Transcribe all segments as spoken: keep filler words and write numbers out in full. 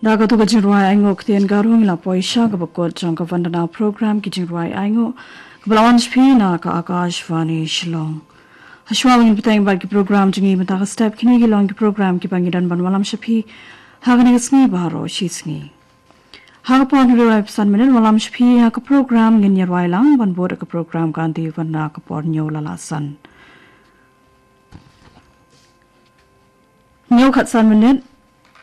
Da katu ka jingrwai ainguh ktien Garo ngi la poi sha kaba kut jong ka Vandana program ki jingrwai ainguh kaba la wan sha phi na ka Akashvani Shillong. Hashwa ba ngin bteng bad ki program jong ngi mynta ka step, kine ki long ki program kiba ngi don ban wallam sha phi ha kane ka sngi baroh shi sngi. Ha ka por hynriew ar phew san minit wallam sha phi ha ka program Ngin Ïarwai Lang, ban bud ka program Ka Anti Wan na ka por hynñiew la lah san. Hynñiew khatsan minit,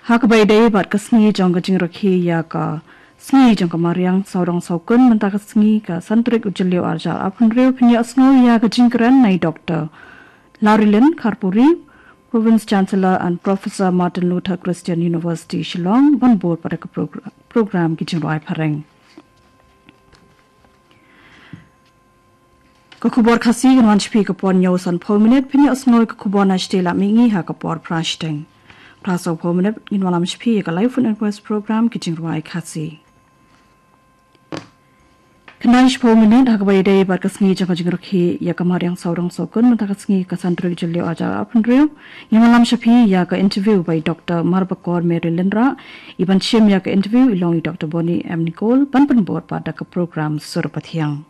ha kaba ïadei bad ka sngi jong ka jingrakhe ïa ka sngi jong ka mariang sawdong sawkun mynta ka sngi ka san tarik u Jylliew arhajar arphew hynriew, phin ïohsngew ïa ka jingkren na i Doktor Larilin Kharpuri, Province Chancellor, and Professor, Martin Luther Christian University, Shillong, ban bud pat da ka progr-, program ki jingrwai phareng. Ka khubor Khasi kan wan sha phi ka por hynñiew sanphew minit, phin ïohsngew ka khubor na shatei lad mihngi ha ka por phra shiteng. Phra sawphew minit ngin wallam sha phi ïa ka Live Phone Request program ki jingrwai Khasi. Khyndai shiphew minit ha kaba ïadei bad ka sngi jong ka jingrakhe ïa ka mariang sawdong sawkun mynta ka sngi ka san tarik Jylliew arhajar arphew hynriew, ngin wallam sha phi ïa ka interview bad i Doktor Marbakor Mary Lynrah. I ban shim ïa ka interview i long i Doktor Bonnie M Nicole, ban pynbud pat da ka program Sur Pathiang.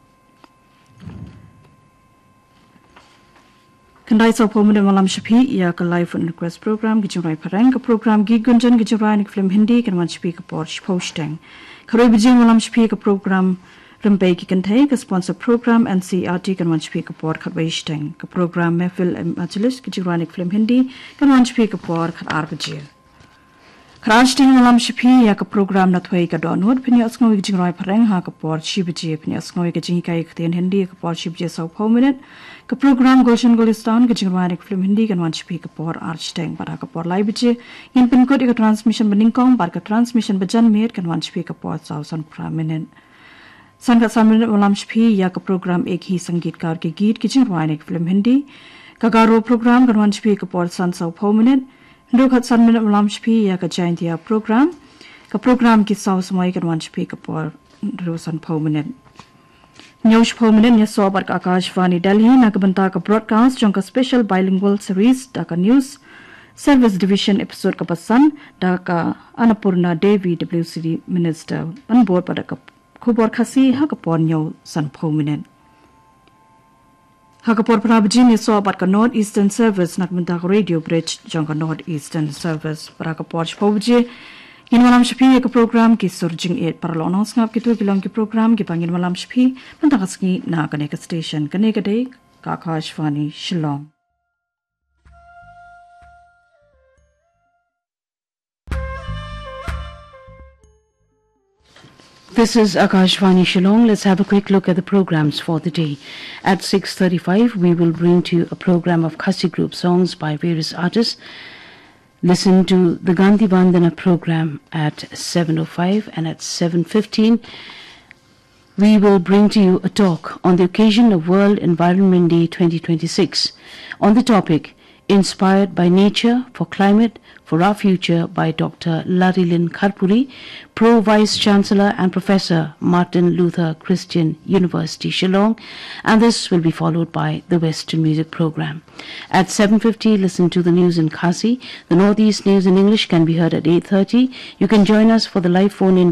Khyndai sawphew minit wallam sha phi ïa ka Live Phone Request program ki jingrwai phareng. Ka program Geet Gunjan ki jingrwai na ki film Hindi kan wan sha phi ka por shiphew shiteng. Khatwei baje ngin wallam sha phi ka program Rympei ki Kynthei, ka sponsor program N C E R T kan wan sha phi ka por khatwei shiteng. Ka program Mehfil e Majlis ki jingrwai na ki film Hindi kan wan sha phi ka por khatar baje. Khatar shiteng ngin wallam sha phi ïa ka program Nathwei ka Dohnud, phin ïohsngew ïa ka jingrwai phareng ha ka por shi baje, phin ïohsngew ïa ka jinghikai ktien Hindi ha ka por shi baje sawphew minit. Ka program Gulshan Gulistan ki jingrwai na ki film Hindi kan wan sha phi ka por ar shiteng, bad ha ka por lai baje ngin pynkut ïa ka transmission banyngkong, bad ka transmission bajanmiet kan wan sha phi ka por saw sanphew phra minit. San khatsan minit wallam sha phi ïa ka program Ek Hi Sangeetkar Ke Geet ki jingrwai na ki film Hindi. Ka Garo program kan wan sha phi ka por san sawphew minit. Hynriew khatsan minit wallam sha phi ïa ka Jaintia program. Ka program Ki Saw Samoi kan wan sha phi ka por hynriew sanphew minit. Hynñiew shiphew minit ngin ïasoh bad ka Akashvani Delhi na ka bynta ka broadcast jong ka Special Bilingual Series da ka News Service Division, episode kaba san, da ka Annapurna Devi, W C D Minister, ban bud pat da ka khubor Khasi ha ka por hynñiew sanphew minit. Ha ka por phra baje ngin ïasoh bad ka North Eastern Service na ka bynta ka Radio Bridge jong ka North Eastern Service. Bad ha ka por shiphew baje ngin wallam sha phi ïa ka program Ki Sur Jingïeit. Para lok nongsngap, kito ki long ki program kiba ngin wallam sha phi mynta ka sngi na kane ka station. Kane ka dei ka Akashvani Shillong. This is Akashvani Shillong. Let's have a quick look at the programs for the day. At six thirty-five, we will bring to you a program of Khasi group songs by various artists. Listen to the Gandhi Vandana program at seven oh five, and at seven fifteen, we will bring to you a talk on the occasion of World Environment Day twenty twenty-six on the topic Inspired by Nature for Climate for Our Future by Doctor Larilin Kharpuri, Pro Vice Chancellor and Professor, Martin Luther Christian University, Shillong, and this will be followed by the Western Music Program. At seven fifty, listen to the news in Khasi. The Northeast News in English can be heard at eight thirty. You can join us for the live phone-in